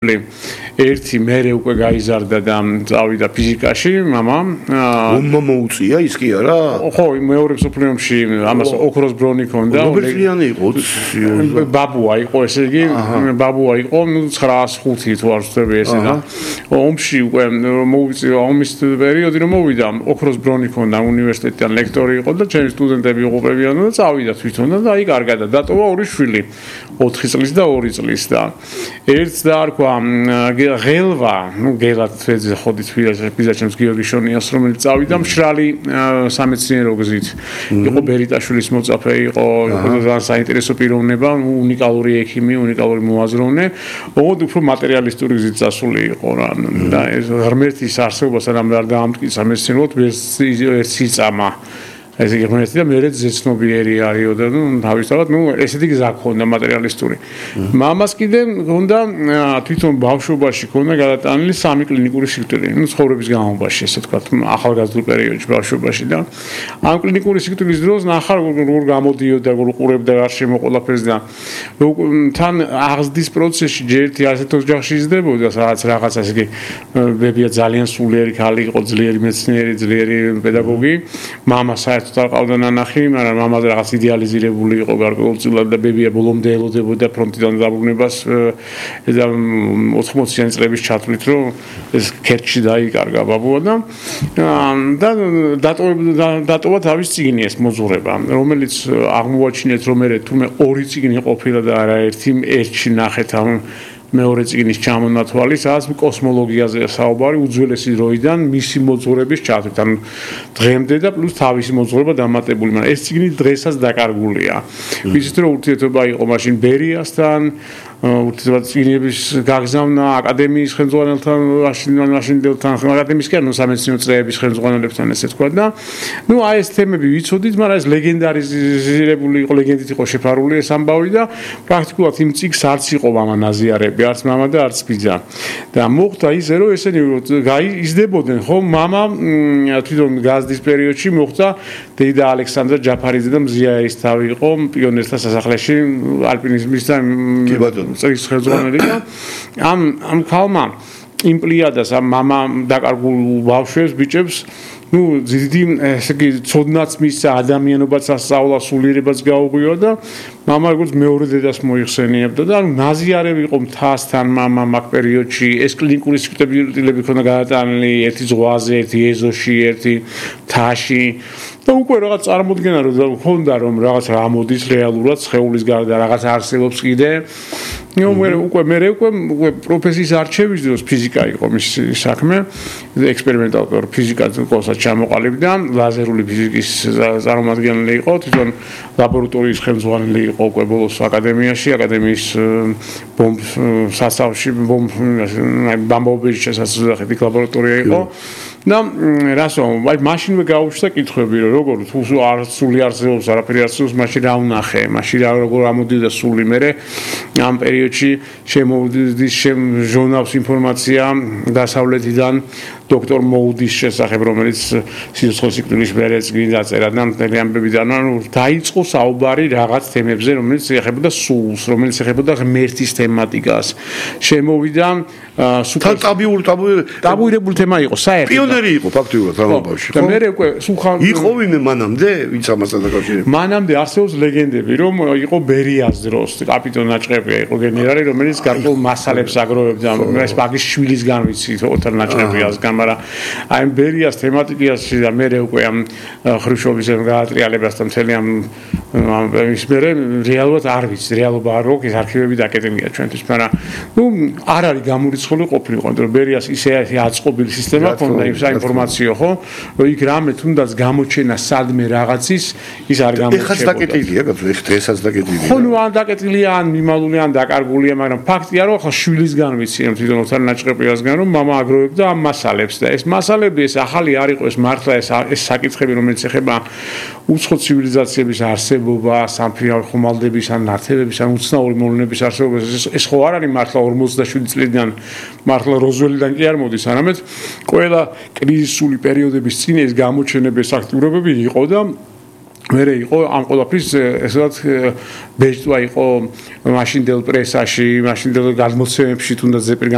ერთი მერე უკვე გაიზარდა და წავიდა ფიზიკაში, მამა. ომმა მოუწია ის კი არა? ხო, მეორე მსოფლიო ომში ამას ოქროს ბრონი ჰქონდა. ნობელწლიანი იყო. ბაბუა იყო, ესე იგი, ბაბუა იყო, 905 თუ არ ვცდები ესე და ომში უკვე მოუწია ომის პერიოდი რომ მოვიდა, ოქროს ბრონი ჰქონდა, უნივერსიტეტიდან ლექტორი იყო და ჩემი სტუდენტები იყვებიან და წავიდა თვითონ და აი კარგად და დატოვა ორი შვილი, 4 წლის და 2 წლის და ერთს დაარქვა ღელვა, ну გელად ხოდით ფიზაჩემს გიორგი შონიას, რომელიც წავიდა მშრალი სამეცნიერო გზით. იყო ბერიტაშვილის მოწაფე, იყო ძალიან საინტერესო პიროვნება, უნიკალური ექიმი, უნიკალური მოაზროვნე, ოღონდ უფრო მატერიალისტური გზით წასული იყო რა. და ეს ღმერთის არსებობას რამე არ დაამტკიცა მეცნიერულად, ვერც იწამა. ეს იგი ღმერთი და მერე ზეცნობიერი არისო და თავისთავად ესეთი გზა ჰქონდა მატერიალისტური. მამას კიდე ჰქონდა თვითონ ბავშვობაში ჰქონდა გადატანილი 3 კლინიკური სიკვდილი, ცხოვრების განმავლობაში, ესე ვთქვათ, ახალგაზრდულ პერიოდში ბავშვობაში და ამ კლინიკური სიკვდილის დროს ნახარ როგორ გამოდიოდა, როგორ ყურებდა გარშემო ყველაფერს და თან აღზრდის პროცესში ჯერ ერთი ასეთ ოჯახში იზრდებოდა, სადაც რაღაც ასე იგი ბებია ძალიან სულიერი ქალი იყო, ძლიერი მეცნიერი, ძლიერი პედაგოგი, მამა საერთოდ არ ყავდა ნანახი, მაგრამ მამაზე რაღაც იდეალიზირებული იყო გარკვეულწილად და ბებია ბოლომდე ელოდებოდა ფრონტიდან დაბრუნებას და 80-იანი წლების ჩათვლით, რომ ეს ქერჩში დაიკარგა ბაბუა და დატოვა თავის წიგნი ეს მოძღვრება, რომელიც აღმოაჩინეთ, რომ თურმე 2 წიგნი ყოფილა და არა ერთში ნახეთ ამ მეორე წიგნის ჩამონათვალი, სადაც კოსმოლოგიაზე საუბარი უძველესი დროიდან მისი მოძღვრების ჩათვლით, ანუ დღემდე და პლუს თავისი მოძღვრება დამატებული, მაგრამ ეს წიგნი დღესაც დაკარგულია. ვიცით რომ ურთიერთობა იყო მაშინ ბერიასთან, ურთიერთობა წიგნების გაგზავნა აკადემიის ხელმძღვანელთან, მაშინდელთან, აკადემიისკენ სამეცნიერო წრეების ხელმძღვანელებთან, ესე თქვა და აი ეს თემები ვიცოდით, მაგრამ ეს ლეგენდარიზირებული იყო, ლეგენდით იყო შეფარული ეს ამბავი და პრაქტიკულად იმ წიგს არც იყო მამა ნაზიარები, არც მამა და არც ბიძა. და მოხდა ისე, რომ ესენი იზრდებოდნენ, ხო, მამა თვითონ გაზრდის პერიოდში მოხდა დეიდა ალექსანდრა ჯაფარიძე და მზია ერისთავი იყო პიონერთა სასახლეში ალპინიზმის და წრის ხელმძღვანელი და ამ ქალმა იმ პლიადას ამ მამა დაკარგულ ბავშვებს, ბიჭებს დიდი ესე იგი ცოდნაც მისცა, ადამიანობაც ასწავლა, სულიერებაც გაუღვიო და მამა როგორც მეორე დედას მოიხსენიებდა და ნაზიარები იყო მთასთან მამა მაგ პერიოდში, ეს კლინიკური სიკვდილები ქონდა გადატანილი ერთი ზღვაზე, ერთი ეზოში, ერთი მთაში და უკვე რაღაც წარმოდგენა რომ ქონდა რომ რაღაც ამოდის რეალურად სხეულის გარდა რაღაც არსებობს კიდე. უკვე პროფესიის არჩევის დროს ფიზიკა იყო მისი საქმე, ექსპერიმენტალურ ფიზიკას კურსად ჩამოყალიბდა, ლაზერული ფიზიკის წარმომადგენელი იყო, თვითონ ლაბორატორიის ხელმძღვანელი იყო უკვე ბოლოს აკადემიაში, აკადემიის სასწავლში ბამბობეჟის შესაძლებელი ლაბორატორია იყო. და რასო, აი მაშინვე გაუჩნდა კითხვები, რომ როგორ თუ არ სული არსებობს, არაფერი არსებობს, მაშინ რა ვნახე, მაშინ როგორ ამოდიოდა სული მერე ამ პერიოდში შემოვიდის ჟურნალს ინფორმაცია დასავლეთიდან დოქტორ მოუდის შესახებ, რომელიც სიცოცხლის სიკვდილის მერე წიგნი დაწერა და მთელი ამბებიდან, ანუ დაიწყო საუბარი რაღაც თემებზე, რომელიც ეხებოდა სულს, რომელიც ეხებოდა ღმერთის თემატიკას. შემოვიდა ტაბუირებული თემა იყო, საერთოდ პიონერი იყო ფაქტიურად ამბავში, ხო? და მე უკვე სულხან იყო ვინმე მანამდე, ვინც ამასთან დაკავშირებული. მანამდე არსებობს ლეგენდები, რომ იყო ბერიას დროს კაპიტონ ნაჭყებია იყო გენერალი, რომელიც გარკვეულ მასალებს აგროვებდა, ეს მაგის შვილისგან ვიცი, ოთარ ნაჭყებიასგან, მაგრამ აი ბერიას თემატიკაში და მე უკვე ამ ხრუშჩოვის გაატრიალებასთან მთელი ამ ის მე რეალურად არ ვიცი, რეალობა არ აქვს, ეს არქივები დაკეტილია ჩვენთვის, მაგრამ არ არის გამორიცხული ყოფილიყო, რომ ბერიას ისე აწყობილი სისტემა ქონდა იმ საინფორმაციო, ხო? რომ იქ რამე თუნდაც გამოჩენა სადმე რაღაცის ის არ გამოჩნდება. ეხაც დაკეტილია, დღესაც დაკეტილია. ხო, ან დაკეტილია, ან მიმალული, ან დაკარგულია, მაგრამ ფაქტია, რომ ახლა შვილისგან ვიცი, თვითონ ოთარ ნაჭყებიასგან, რომ მამა აგროვებდა ამ მასალებს და ეს მასალები ეს ახალი არ იყო, ეს მართლა ეს საკითხები, რომელიც ეხება უცხო ცივილიზაციების არსებობა, სამფრინავი ხომალდების, ან ნართებების, ან უცნაური მოვლენების არსებობას, ეს ხო არ არის მართლა 47 წლიდან, მართლა როზველიდან კი არ მოდის, არამედ ყველა კრიზისული პერიოდების წინ ეს გამოჩენების აქტიურობები იყო და მერე იყო ამ ყველაფრის ესეთ ბეჭდვა იყო მაშინდელ პრესაში, მაშინდელ გადმოცემებში, თუნდაც ზეპირ